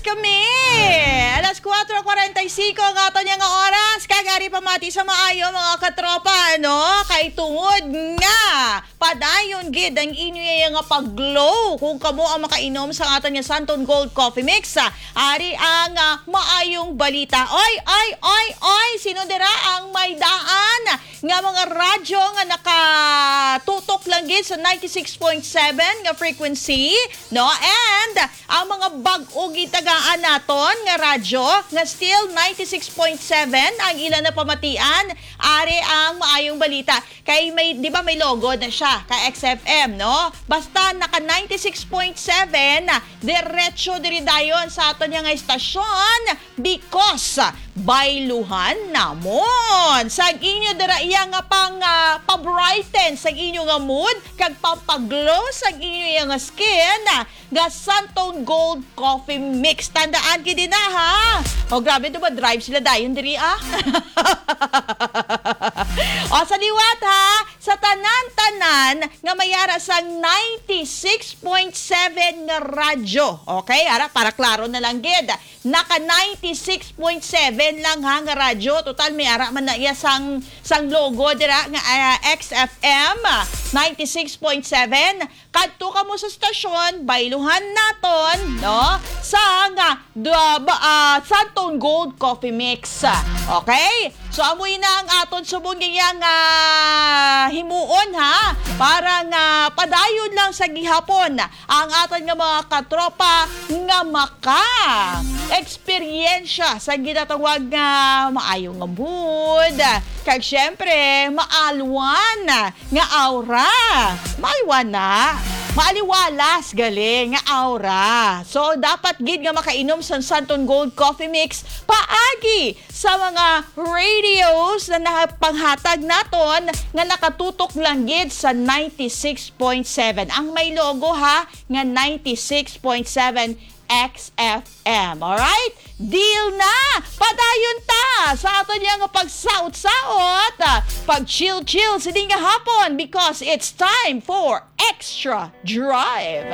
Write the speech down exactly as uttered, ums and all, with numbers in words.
kami. Alas kuwatro kwarenta y singko ang aton nga oras. Kag ari pamati sa maayo, mga katropa, ano? Kay tungod nga padayon gid ang inyo iya nga pag-glow kung kamo ang makainom sa aton nga Santon Gold Coffee Mix. Ari ang, ah, maayong balita. Oy, oy, oy, oy, sino dira ang may daan nga mga radyo nga nakatutok lang gid sa ninety-six point seven nga frequency, no? And ang mga bag-o gitagaan naton nga radyo nga still ninety-six point seven ang ila napamatian, ari ang maayong balita. Kay may, di ba may logo na siya ka X F M, no? Basta naka ninety-six point seven, diretso diri dayon sa aton nga istasyon, because bayluhan namon sang inyo dira iya nga pang, ah, pabrighten sang inyo nga mood kag pampaglow sang inyo iya nga skin, ah, nga Santon Gold Coffee Mix. Tandaan gid na, ha? O, grabe, diba, drive sila dayon diri, ah? O, sa liwat, ha, sa tanan-tanan nga may ara sang ninety-six point seven nga radyo. Okay, ara, para klaro na lang gid. Naka ninety-six point seven lang, ha, nga radyo. Total, may ara man na iya sang, sang logo dira nga, ah, X F M, ah, ninety-six point seven. Kadto kamo sa stasyon, bayluhan naton, no? Sang, ah, da-, ba-, ah, Santon Gold Coffee Mix. Okay? So, amoy na ang aton subong nga, ah, himuon, ha? Para nga padayon lang sa gihapon ang aton nga mga katropa nga maka-eksperyensya sa ginatawag nga maayo nga mood. Kag syempre, maalwan nga aura. Maalwan na. Maaliwalas gali nga aura. So, dapat gid nga makainom sa Santon Gold Coffee Mix paagi sa mga radios na nakapanghatag naton nga nakatutok lang gid sa ninety-six point seven. Ang may logo, ha, nga ninety-six point seven X F M. Alright? Deal na! Padayon ta sa aton nga pagsaot-saot, pag-chill-chill sini nga hapon, because it's time for Extra Drive.